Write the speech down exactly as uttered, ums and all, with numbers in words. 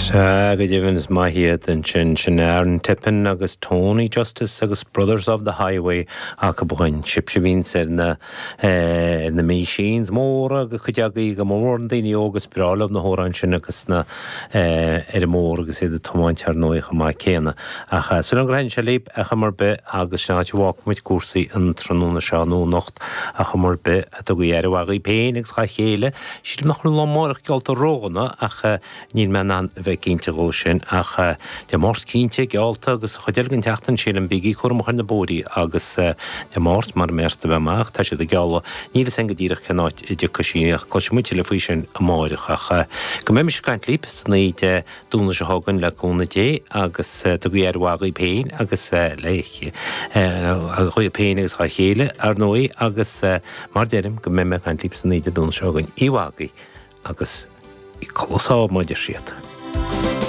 Sea, go deimhin is maith iad ansin sin Aaron Tippin agus Tony Justice agus Brothers of the Highway acu againn sibhse a bhíonns ar na ar na machines móra agus cuid agaibh go mór na daoine óga is breá leo na hamhráin sin agus na ar an mbóthar agus iad ag tiomáint ar ndóigh chomh maith céanna. Ach sula ngraitheann sé libh ar chuma ar bith agus sin áit a bhfágfaidh muid cúrsaí an tráthnóna seo nó anocht ar chuma ar bith tugaigí aire mhaith dhaoibh féin agus dhá chéile. Sílim nach bhfuil lá amárach geallta ródhona ach níl mé in ann a bheith cinnte dhó sin ach Dé Máirt cinnte geallta agus an chuid eile den tseachtain sílim bígí cúramach ar na bóithrí agus Dé Máirt mar a mbeas a bheith amach tá siad ag gealladh níl fhios againn go díreach cén áit a dtiocfaidh sí ach cloisfidh muid tuilleadh faoi sin amáireach ach go mbeimis ag caint libh san oíche Dé Domhnaigh seo chugainn le cúnamh Dé agus tugaigí aire mhaith dhaoibh féin agus le dhaoibh féin agus dhá chéile ar ndóigh agus mar deirim go mbeidh mé ag caint libh san oíche Dé Domhnaigh seo chugainn. Oíche mhaith agaibh agus codladh sámh mar a deir siad.